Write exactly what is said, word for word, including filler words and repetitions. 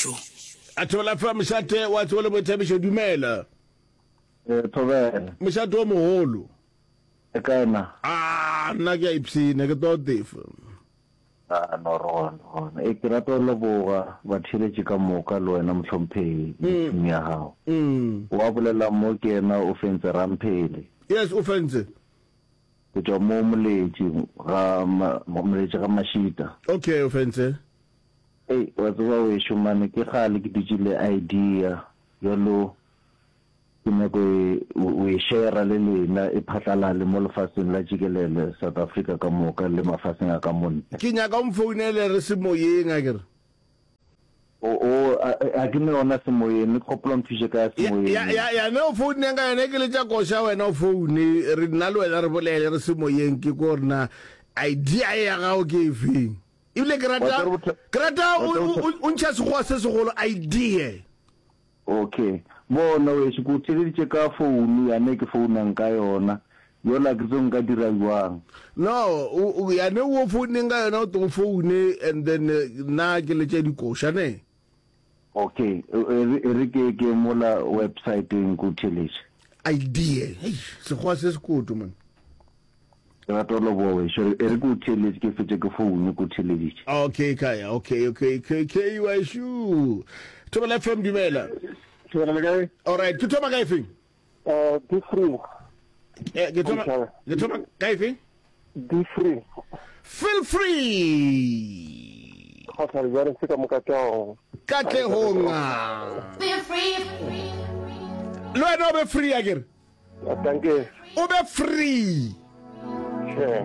Boithabišo. A Thobela F M mošate wa tsebo le boithabišo, dumela. Eh, Thobela. Mošate o mogolo. E kae na? Ah, nna ke a ipshina, ke tlo tefa. Ah, no re gona, gona. E ke rata go leboga batheeletši ka moka le wena mohlomphegi le team ya gago. Mm. Wa bolela mo ke yena o fentse Ramphele. Yes, o fentse. Go tšwa mo Moletši ga Moletši ga Mašita. Okay, o fentse. Ei, wa tseba wešo mane ke kgale ke dutše le idea bjalo ke nyako e o e share le lena e phatlalale mo lefaseng la tšikelele South Africa ka moka le mafaseng a ka mo ntle. Ke nyaka o mfounele re semoyeng akere. O, o, a, a ke ne yona semoyeng, ne ke gopola o nthuše ka ya semoyeng. Ya, ya, ya ne o founeng ka yona ke letša koša wena o foune re nna le wena re bolele re semoyeng ke ko gore na idea ye ya gago ke efeng. Ebile ke rata ke rata o ntšha sekgowa se segolo idea. Okay. Bona wešo ke o theleditše ka founu yane ke founang ka yona. Yola ke tsebe nka dira bjang. No, o, o, yane o founeng ka yona o tlo foune and then nna ke letše dikoša ne. Okay, e re e re ke ke mola websiteng ke o theletše. Idea, eish, sekgowa se sekoto man. Ke rata go leboga wešo, e re ke o theletše ke fetše ke foune ke o theleditše. Okay Kaya, okay, okay, okay, okay wešo. Thobela F M dumela. Thobela le kae? Alright, ke thoma ka efeng? Uh, be free. Eh, ke thoma ke thoma ka efeng? Be free. Feel free. Kgotla jwale se ka moka tšao. Katlehong. Be free. Le wena o be free akere? Danke. O be free. Sure.